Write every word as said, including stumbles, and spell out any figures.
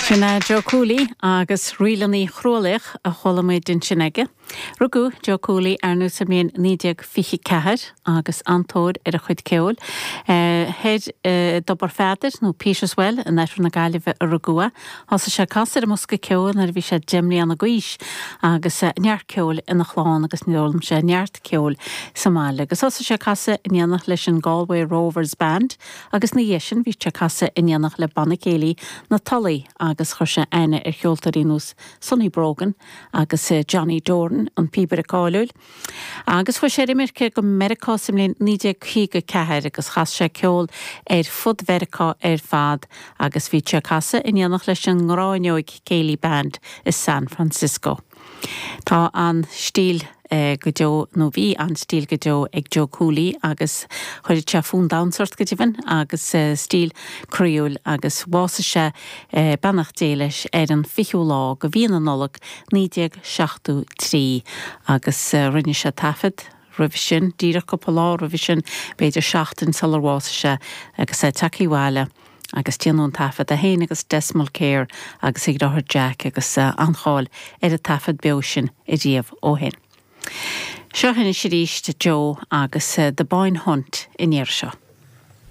Sin é Joe Cooley agus Ríleanna Chrualaoich a chuala muid ansin aige. Rugadh Joe Cooley ar ndóigh sa mbliain naoi déag fiche ceathair agus an-tóir ar a chuid ceoil. Thoir i dTobar Pheadair nó Peter's Well in oirthear na Gaillimhe a rugadh é. Thosaigh sé ag casadh ar an mbosca ceoil nuair a bhí sé deich mbliana d'aois agus neart ceoil ina chlann agus d'fhoghlaim sé neart ceoil sa mbaile. Agus thosaigh sé ag casadh in éineacht leis an Galway Rovers Band agus ina dhiaidh sin bhí sé ag casadh in éineacht le Banna Céilí na Tulaí agus chuir sé aithne ar cheoltóirí ar nós Sonny Brogan agus Johnny Doran an píobaire cáiliúil. Agus chuaigh sé ar imirce go Meiriceá sa mbliain naoi déag caoga ceathair agus chas sé ceol ar fud Mheiriceá ar fad agus bhí sé ag casadh in éineacht leis an nGráinneog Céilí Band i San Francisco. Tá an stíl go deo nó bhí an stíl go deo ag Joe Cooley agus chuir sé fonn damhsa ort go deimhin agus stíl croíúil agus bhásaigh sé beannacht Dé leis ar an fichiú lá de mhí na Nollag naoi déag seachtó trí agus rinne sé taifead roimhe sin díreach cúpla lá roimhe sin b'fhéidir seachtain sular bhásaigh sé agus é tagtha abhaile agus déanadh an taifead é féin agus Des Mulkere agus a dheartháir Jack agus an-cháil ar an taifead beo sin ariamh ó shin. Seo anois arís Joe agus The Boyne Hunt in iar seo.